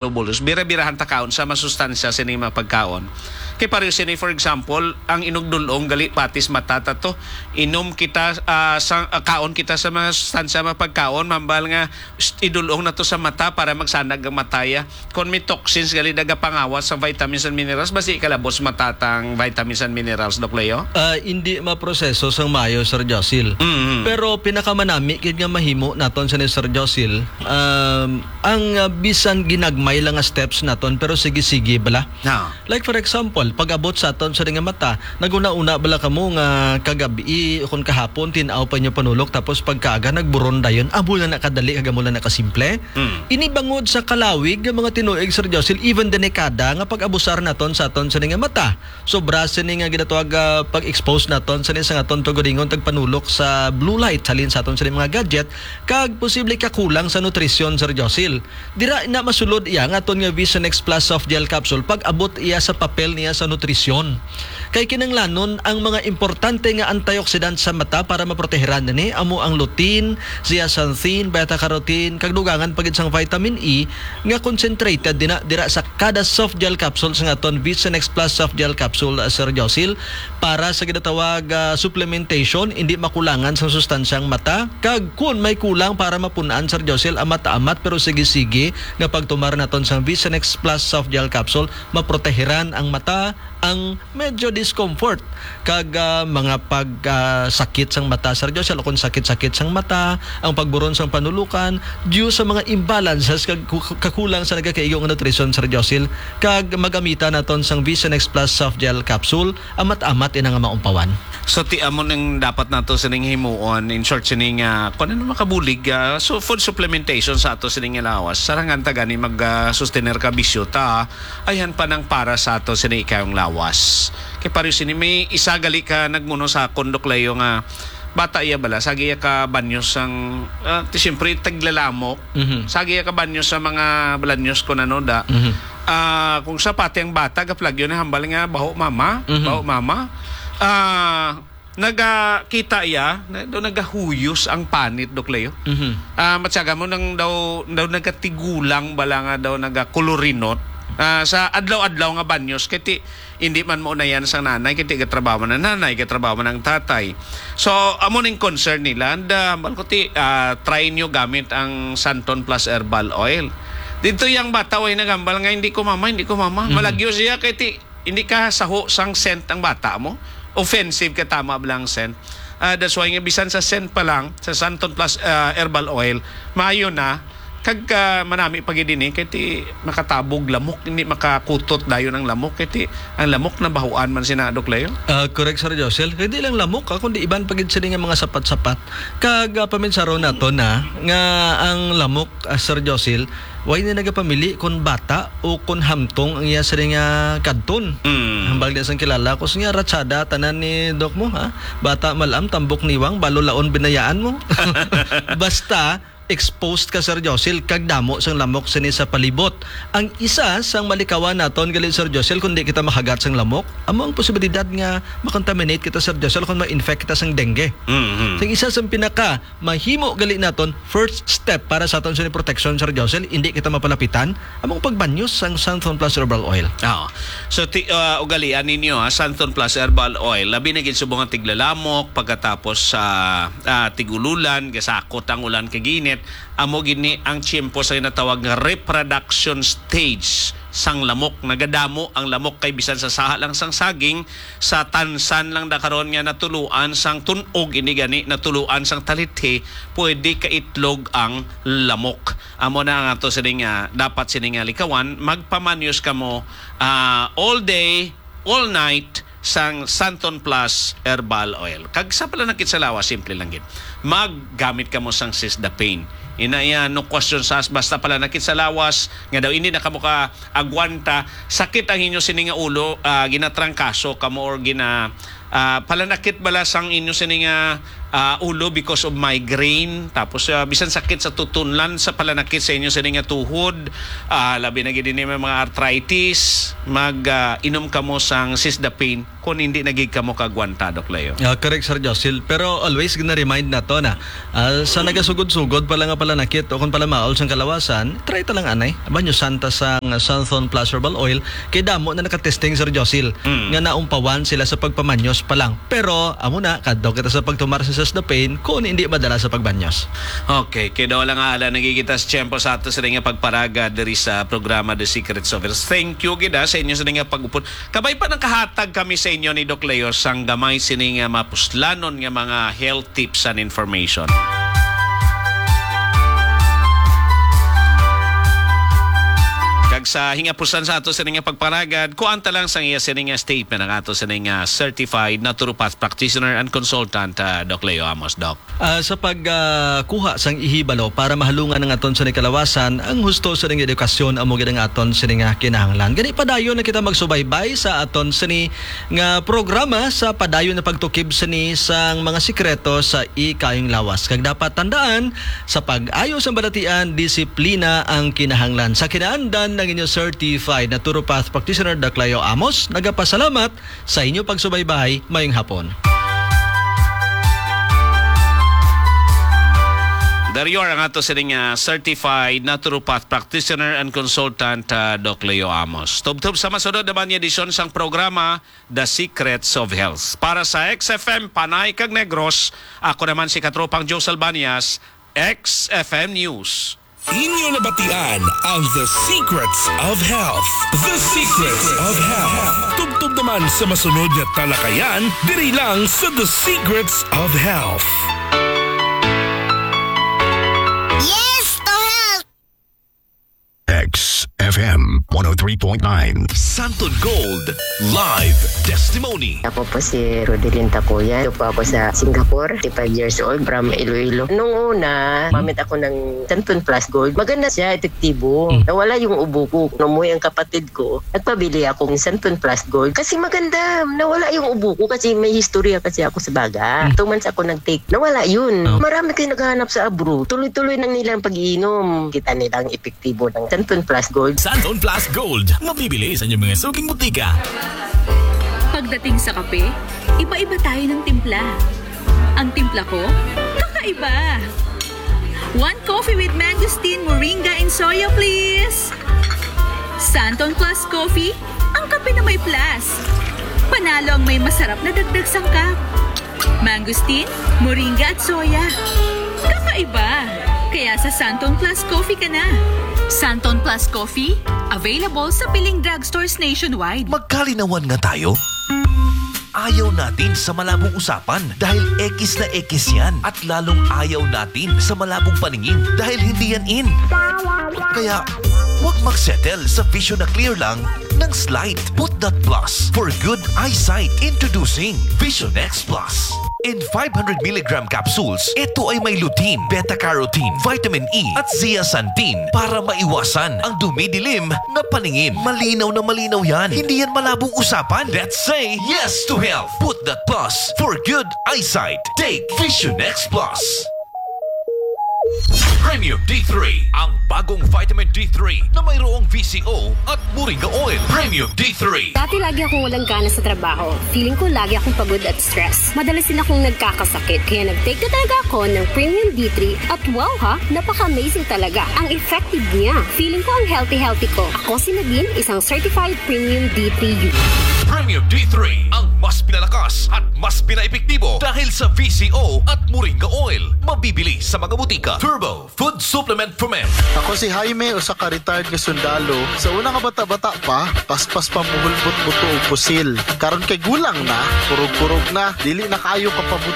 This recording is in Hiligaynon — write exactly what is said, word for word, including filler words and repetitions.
globules. Bira-birahan ta kaon sa masustansya sini mga pagkaon. Kay pareho sini, for example, ang inugdulong gali patis mata ta to. Inom kita, ah, sa, ah, kaon kita sa mga sustansya mga pagkaon, mambal nga, s-, idulong na to sa mata para magsanag ang mataya. Kung may toxins gali nagapangawas sa vitamins and minerals, basi kalabos matatang vitamins and minerals, Doc Leo? Ah, hindi maproseso sang maayo, Sir Josil. Mm-hmm. Pero pinakamanami gid nga mahimo naton sa ni Sir Josil, um, ang, ah, bisan ginagmay lang nga steps naton, pero sige-sige bala. Na. Like for example, pag-abot sa aton sa nga mata, naguna-una bala kamo nga kagabi o kung kahapon, tin-aw pa inyo panulok, tapos pagkaaga, nagburon dayon. Amo lang na kadali, kag amo lang na kasimple. Mm. Ini bangod sa kalawig nga mga tinuig, Sir Josil, even delikada nga pag-abusar naton sa aton sa nga mata. Sobra sini nga ginatawag, ah, pag-expose naton sa sa nga aton tuguringon tagpanulok sa blue light halin sa aton sa mga gadget, kag posible kakulang sa nutrisyon, Sir Josil. Dira na masulod iya nga aton nga Vision X Plus Soft Gel Capsule pag-abot iya sa papel niya sa nutrisyon. Kay kinahanglanon ang mga importante nga antioxidant sa mata para maprotehiran nini, amo ang lutein, zeaxanthin, beta carotene, kag dugangan pa gid sang vitamin E nga concentrated dina, dira sa kada soft gel capsule sa aton Vision X Plus Soft Gel Capsule, uh, Sir Josil, para sa ginatawag, uh, supplementation, hindi makulangan sa sustansyang mata. Kag kun may kulang para mapun-an, Sir Josil, amat-amat pero sige-sige nga pagtumar naton sang Vision X Plus Soft Gel Capsule, maprotehiran ang mata, ang medyo discomfort kag, ah, mga pag, ah, sakit sang mata, Sir Joshua, kung sakit-sakit sang mata, ang pagburon sang panulukan, due sa mga imbalances kag ku-, kakulang sa nagakaigo nga nutrisyon, Sir Josil, kag magamita naton sang Vision X Plus Soft Gel Capsule, amat-amat ina nga maumpawan. So, ti amo ning dapat nato sining himuon, in short, sining, ah, kung ano makabulig, ah, so food supplementation sa ato sining lawas. Sarangan ta gani mag, ah, sustener ka bisyo ta, ayhan pa nang para sa ato sini ikayong lawas. Kay pareho sini, may isa gali ka nagmuno sa akon, Doc Leo, nga bata iya bala, sagi iya ka banyo sang, ah, ti siyempre, taglalamok. Mhm. Sagi iya ka banyo sa mga balanyos ko nano da. Mhm. Ah, kung sa pati ang bata, gaplagyo na hambal nga, "Baho, mama, Mhm. baho, mama." Ah, nagakita iya, na, daw nagahuyos ang panit, Doc Leo. Mhm. Ah, matyaga mo nang daw, daw nagatigulang bala nga daw nagakulurinot. Ah, sa adlaw-adlaw nga banyos, kay ti, hindi man mo unayan sang nanay, kay ti gatrabaho man ang nanay, gatrabaho man ang tatay. So, amo ning concern nila. And, ah, hambal ko ti, ah, try nyo gamit ang Santon Plus Herbal Oil. Dito yung bata, way nagambal nga, "Hindi ko mama, hindi ko mama." Mhm. Malagyo siya, kay ti, hindi ka saho sang scent ang bata mo. Offensive ka, tama ba lang scent? Ah, that's why nga bisan sa scent pa lang, sa Santon Plus, ah, Herbal Oil, maayo na. Kag, ah, manami pa gid ini, kay ti makatabog lamok, hindi makakutot dayon ang lamok, kay ti ang lamok nabahuan man sina, Doc Leo. Ah, correct, Sir Josel. Kay di lang lamok, ah, kundi iban pa gid sini nga mga sapat-sapat. Kag, ah, paminsaron nato na nga ang lamok, ah, Sir Josel, way ni nagapamili kon bata o kon hamtong ang iya sini nga kadton. Mm. Hambal niya sang kilala ko, siya ratsada tanan ni Doc mo, ha? Bata malam, tambok niwang, balo laon binayaan mo. Basta, exposed ka, Sir Josil, kag damo sang lamok sini sa palibot. Ang isa sang malikawan naton gali, Sir Josil, kung di kita makagat sang lamok, amo ang posibilidad nga makontaminate kita, Sir Josil, kung ma-infect kita sang dengue. Mhm. Ang isa sang pinaka mahimo gali naton, first step para sa aton sa protection, Sir Josil, hindi kita mapalapitan, among pagbanyos sang Santhon Plus Herbal Oil. Oo. So, ti-, ah, ugalian ninyo, ha, Santhon Plus Herbal Oil. Labi na gid subong ang tiglalamok, pagkatapos sa, ah, tigululan, gasakot ang ulan kag init. Amo gid ni ang tiyempo sa ginatawag nga reproduction stage sang lamok. Nagadamo ang lamok kay bisan sa saha lang sang saging, sa tansan lang da karon nga natuluan sang tun-og, ini gani natuluan sang talithi, pwede kaitlog ang lamok. Amo na ang ato sining, ah, dapat sining, ah, likawan, magpamanyos kamo, ah, all day, all night sang Santon Plus Herbal Oil. Kag sa pala nakit sa lawas, simple lang gid. Maggamit kamo sang Sisda Pain. Ina iya, no question sa basta pala nakit sa lawas, nga daw hindi na kamo ka agwanta, sakit ang inyo sini nga ulo, ah, ginatrangkaso kamo or gina, Ah, palanakit bala sang inyo sini nga, ah, ulo because of migraine, tapos, ah, bisan sakit sa tutunlan sa palanakit sa inyo sini nga tuhod, ah, labi na gid ini may mga arthritis, mag, ah, inom kamo sang Sisdapine kung hindi na gid kamo kagwanta, Doc Leo. Ah, correct, Sir Josil. Pero always gina-remind nato na, ah, sa nagasugod-sugod pala nga palanakit o kung pala maol sang kalawasan, try ta lang anay. Banyosan ta sang Santhon Plus Herbal Oil, kay damo na nakatesting, Sir Josil, Mm. nga naumpawan sila sa pagpamanyos pa lang. Pero, amo na, kadto kita sa pagtumar sa Sisdapine kung hindi madala sa pagbanyos. Okay, kay daw lang nga ala nagigita sa tiyempo sa ato sila nga pagparaga diri sa programa The Secrets of Health. Thank you gid, ah, sa inyo sila nga pag-upod. Kabay pa nang kahatag kami sa inyo ni Doc Leo sang gamay sini nga mapuslanon nga mga health tips and information. Kag sa hingapusan sa ato sini nga pagpanagad, kuan ta lang sang iya sini nga statement ang ato sini nga certified naturopath practitioner and consultant, ah, Doc Leo Amos, Doc. Ah, sa pag, ah, kuha sang ihibalo para mahalungan ang aton sini kalawasan, ang husto sini nga edukasyon amo gid ang aton sini nga kinahanglan. Gani padayon na kita magsubaybay sa aton sini nga programa sa padayon na pagtukib sini sang mga sikreto sa ikayong lawas. Kag dapat tandaan, sa pag-ayo sang balatian, disiplina ang kinahanglan. Sa kinaandan ng inyo certified naturopath practitioner, Doc Leo Amos, nagapasalamat sa inyo pagsubaybay. Mayong hapon. Dario ang ato sining, ah, certified naturopath practitioner and consultant, ah, Doc Leo Amos. Tubtob sa masunod naman nga edisyon sang programa, The Secrets of Health. Para sa X F M Panay kag Negros, ako naman si Katropang Joe Salbanias, X F M News. Inyo nabatian ang The Secrets of Health. The Secrets of Health. Tubtob naman sa masunod nga talakayan diri lang sa The Secrets of Health. Yes to health! X F M one oh three point nine. Santon Gold Live Testimony. Ako po si Rodelyn Takuya. Ito po ako sa Singapore, fifty-five years old, from Iloilo. Nung una, gumamit ako ng Santon Plus Gold. Maganda siya, epektibo. Mm. Nawala yung ubo ko. Nung umuwi ang kapatid ko, nagpabili ako ng Santon Plus Gold. Kasi maganda, nawala yung ubo ko kasi may historya kasi ako sa baga. Mm. Two months ako nag-take. Nawala yun. Oh. Marami kayo naghahanap sa abroad. Tuloy-tuloy lang nilang pag-iinom. Kita nilang epektibo ng Santon Plus Gold. Santon Plus Gold, mabibili sa inyong mga suking butika. Pagdating sa kape, iba-iba tayo ng timpla. Ang timpla ko, kakaiba. One coffee with mangosteen, moringa, and soya, please. Santon Plus Coffee, ang kape na may plus. Panalo ang may masarap na dagdag sangkap. Mangosteen, moringa at soya. Kakaiba! Kaya sa Santon Plus Coffee ka na. Santon Plus Coffee, available sa piling drugstores nationwide. Magkalinawan nga tayo. Ayaw natin sa malabong usapan dahil ekis na ekis yan. At lalong ayaw natin sa malabong paningin dahil hindi yan in. Kaya, huwag magsettle sa vision na clear lang ng slight. Put that plus for good eyesight. Introducing Vision X Plus. In five hundred milligram capsules, ito ay may lutein, beta-carotene, vitamin E, at zeaxanthin para maiwasan ang dumidilim na paningin. Malinaw na malinaw yan. Hindi yan malabong usapan. Let's say yes to health. Put that plus for good eyesight. Take Vision X Plus. Premium D three, ang bagong vitamin D three na mayroong V C O at moringa oil. Premium D three. Dati lagi akong walang gana sa trabaho. Feeling ko lagi akong pagod at stress. Madalas din akong nagkakasakit. Kaya nag-take na talaga ako ng Premium D three at wow ha, napaka-amazing talaga. Ang effective niya. Feeling ko ang healthy-healthy ko. Ako si Nadine, isang certified Premium D three user. Premium D three, ang mas pinalakas at mas pinaepektibo dahil sa V C O at moringa oil. Mabibili sa mga butika. Turbo Food Supplement Ferment. Ako si Jaime, usa ka retired nga sundalo. Sa una nga bata-bata pa, paspas pa muhulbot buto og pusil. Karon kay gulang na, kurog-kurog na, dili na kaayo kapabot